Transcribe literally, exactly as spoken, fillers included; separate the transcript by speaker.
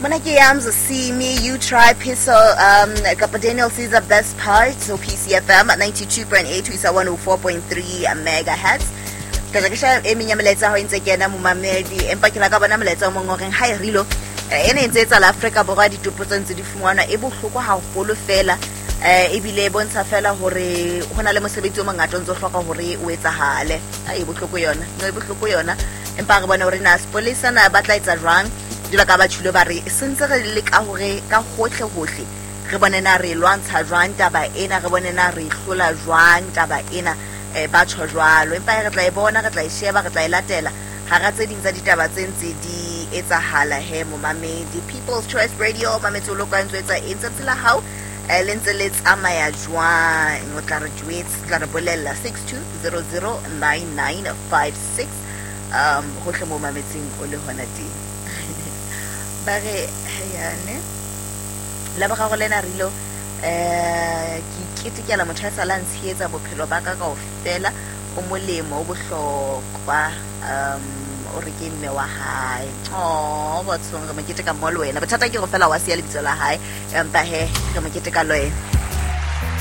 Speaker 1: Mona ke Yams See Me You Try Piso um kapa Daniel Caesar Best Part, so P C F M ninety-two point eight to one oh four point three megahertz. Ka ke sha e menya melaetsa ho ntse kena momamedi, empa ke la ka bona molaetsa o mong o reng ha e rilo ene ntse etsa la Afrika Borwa ditopo tse ntse di fumanwa e bohloko haholo fela, eh ebile e bontsha fela hore hona le mosebetsi o mongata o ntse o hloka hore o etsahale. A e bohloko yona, no e bohloko yona, empa re bona hore na sepolesa na ba tla etsa jwang. Jwalo ka ba tjhilo ba re sentse re leka hore ka hohle hohle re bone na re lwantsha jwang taba ena, re bone na re hlola jwang taba ena, eh ba tjho jwalo. Empa re tla e bona, re tla e sheba, re tla e latela hara tse ding tsa ditaba tse ntse di etsahala he momamedi. People's Choice Radio mametse o lokwa ntse etsa eng tsatsi la hao le ntse le tsamaya jwang, o tla re jwetsa, o tla re bolella six two zero zero nine nine five six um hohle mo mametseng o le hona teng. Ba re yane la boraro lena rilo eh ke iketekela motho a sa la ntshehetsa bophelo ba ka kaofela, o molemo o bohlokwa, um o re ke mme wa hae. Oh bathong re mo keteka mo le wena, bothata ke go fela wa siya lebitso la hae, empa he re mo keteka le wena.